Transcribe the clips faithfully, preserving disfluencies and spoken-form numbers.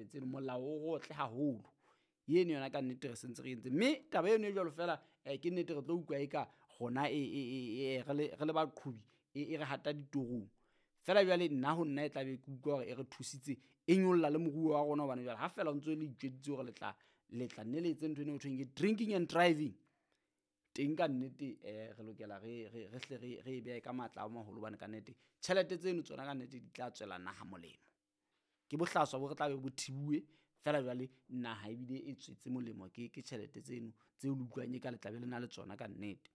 Tabeng tseno molao o rotle haholo eno yona ka nnete re sentse re entse, mme taba eno e jwalo fela um ke nnete re tlo utlwa eka rona e, e, e, e, re le re le baqhobi e, e re hata ditorong. Fela jwale nna ho nna e tlabe ke utlwa hore e re thusitse e nyolla le moruo wa rona, hobane jwale ha fela o ntso le itjweditse hore le tla le tla nne le etse ntho eno ho thweng ke drinking and driving teng ka nnete um re lokela re re re hle re re e behe ka matla a maholo, hobane ka nnete tjhelete tseno tsona ka nnete di tla tswela naha molemo. Ke bohlaswa bo re tlabe bo thibuwe fela jwale naha ebile e tswetse molemo ke ke tjhelete tseno tseo le utlwang eka le tla be le na le tsona ka nnete.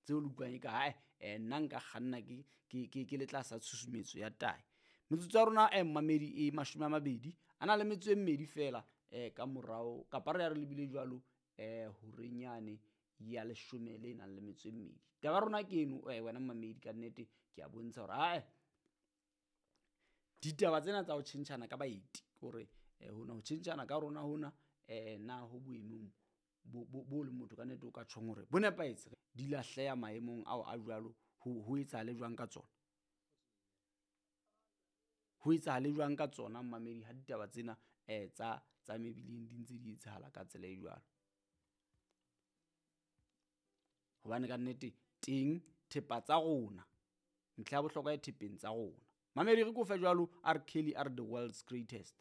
Tseo le utlwang eka hae um nna nka kganna ke ke ke ke le tlasa tshusumetso ya tahi. Metsotso ya rona um mmamedi e mashome a mabedi a na le metso e mmedi fela um ka morao kapa re ya re lebile jwalo um horeng yane ya leshome le nang le metso e mmedi. Taba ya rona ke eno um wena mmamedi ka nnete ke a bontsha hore ae ditaba tsena tsa ho tjhentjhana ka baeti kore hona ho tjhentjhana ka rona hona um na ho boemong bo bo bo leng motho ka nnete o ka tjhong hore bo nepahetse di lahleha maemong ao a jwalo ho ho etsahale jwang ka tsona. Ho etsahale jwang ka tsona mmamedi ha ditaba tsena um tsa tsa mebileng di ntse di etsahala ka tsela e jwalo. Hobane ka nnete teng thepa tsa rona ntlha ya bohlokwa e thepeng tsa rona. Mamedi re kofe jwalo R Kelly a re the world's greatest.